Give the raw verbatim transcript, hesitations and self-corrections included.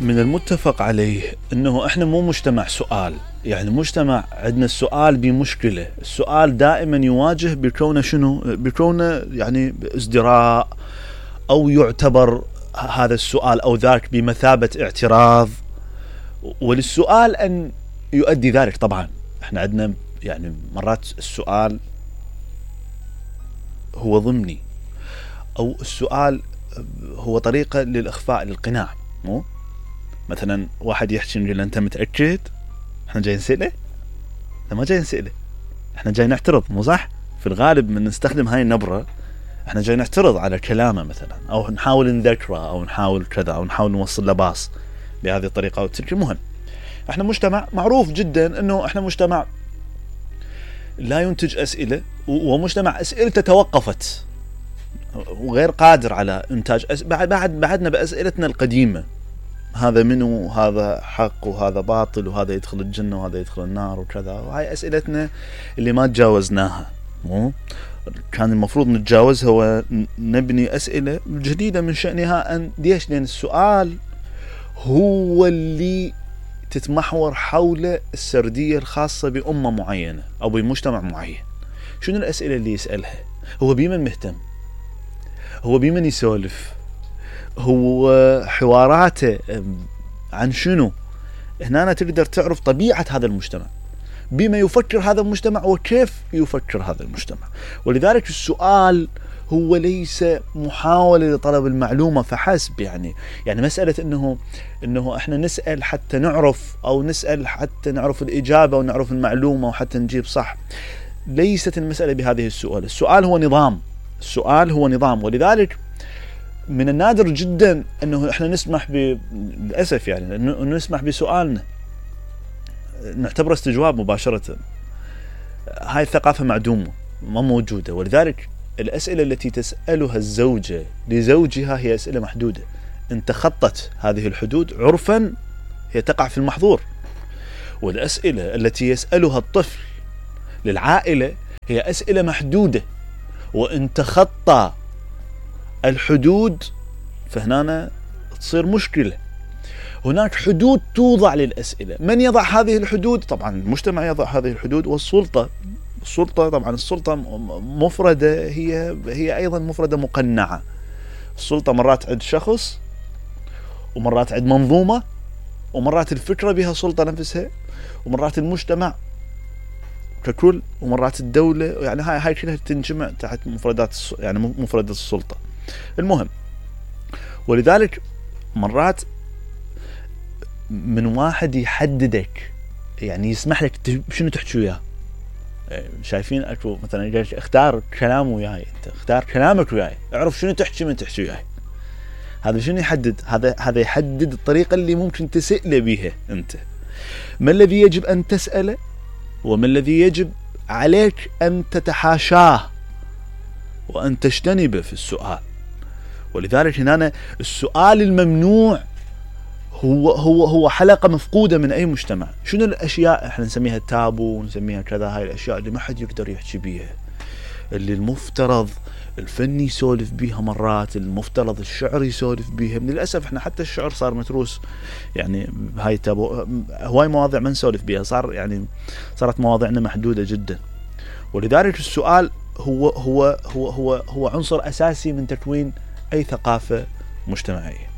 من المتفق عليه انه احنا مو مجتمع سؤال، يعني مجتمع عندنا السؤال بمشكلة، السؤال دائما يواجه بكونه شنو؟ بكونه يعني ازدراء، او يعتبر هذا السؤال او ذاك بمثابة اعتراض، وللسؤال ان يؤدي ذلك. طبعا احنا عندنا يعني مرات السؤال هو ضمني، او السؤال هو طريقة للاخفاء للقناع. مو مثلا واحد يحكي نقول انت متأكد؟ احنا جاي نسأله؟ احنا ما جاي نسأله، احنا جاي نعترض. مو صح؟ في الغالب من نستخدم هاي النبرة احنا جاي نعترض على كلامه مثلا، او نحاول نذكره، او نحاول كذا، او نحاول نوصل له باص بهذه الطريقة او تلك. المهم احنا مجتمع معروف جدا انه احنا مجتمع لا ينتج اسئلة، ومجتمع اسئلته توقفت وغير قادر على انتاج أس... بعد بعد بعدنا باسئلتنا القديمة، هذا منو، هذا حق وهذا باطل، وهذا يدخل الجنة وهذا يدخل النار وكذا. وهاي اسئلتنا اللي ما تجاوزناها. مو كان المفروض نتجاوزها ونبني اسئلة جديدة من شأنها ان ليش؟ لان السؤال هو اللي تتمحور حول السردية الخاصة بأمة معينة او بمجتمع معين. شنو الاسئلة اللي يسألها؟ هو بمن مهتم؟ هو بمن يسولف؟ هو حواراته عن شنو؟ هنا تقدر تعرف طبيعة هذا المجتمع، بما يفكر هذا المجتمع وكيف يفكر هذا المجتمع. ولذلك السؤال هو ليس محاولة لطلب المعلومة فحسب. يعني يعني مسألة انه انه احنا نسأل حتى نعرف، او نسأل حتى نعرف الإجابة ونعرف المعلومة وحتى نجيب صح، ليست المسألة بهذه السؤال. السؤال هو نظام، السؤال هو نظام. ولذلك من النادر جدا انه احنا نسمح ب للاسف يعني انه نسمح بسؤالنا نعتبره استجواب مباشرة. هاي الثقافة معدومة، ما موجودة. ولذلك الأسئلة التي تسألها الزوجة لزوجها هي أسئلة محدودة، إن تخطت هذه الحدود عرفا هي تقع في المحظور. والأسئلة التي يسألها الطفل للعائلة هي أسئلة محدودة، وإن تخطى الحدود فهنا تصير مشكلة. هناك حدود توضع للأسئلة. من يضع هذه الحدود؟ طبعا المجتمع يضع هذه الحدود، والسلطة. السلطة طبعا السلطة مفردة، هي هي أيضا مفردة مقنعة. السلطة مرات عند شخص، ومرات عند منظومة، ومرات الفكرة بها سلطة نفسها، ومرات المجتمع ككل، ومرات الدولة. يعني هاي هاي كلها تنجمع تحت مفردات يعني مفردة السلطة. المهم ولذلك مرات من واحد يحددك، يعني يسمح لك شنو تحكي وياه. شايفين اكو مثلا يقول اختار كلام وياي، انت اختار كلامك وياي، اعرف شنو تحكي من تحكي وياي. هذا شنو يحدد؟ هذا هذا يحدد الطريقة اللي ممكن تسأل بها انت. ما الذي يجب ان تسأله، وما الذي يجب عليك ان تتحاشاه وان تجتنبه في السؤال. ولذلك هنا السؤال الممنوع هو هو هو حلقة مفقودة من أي مجتمع. شنو الأشياء احنا نسميها التابو ونسميها كذا؟ هاي الأشياء اللي ما حد يقدر يحكي بيها، اللي المفترض الفن يسولف بيها، مرات المفترض الشعر يسولف بيها. للأسف احنا حتى الشعر صار متروس، يعني هاي تابو. هواي مواضيع ما نسولف بيها، صار يعني صارت مواضيعنا محدودة جدا. ولذلك السؤال هو هو هو هو هو عنصر أساسي من تكوين أي ثقافة مجتمعية.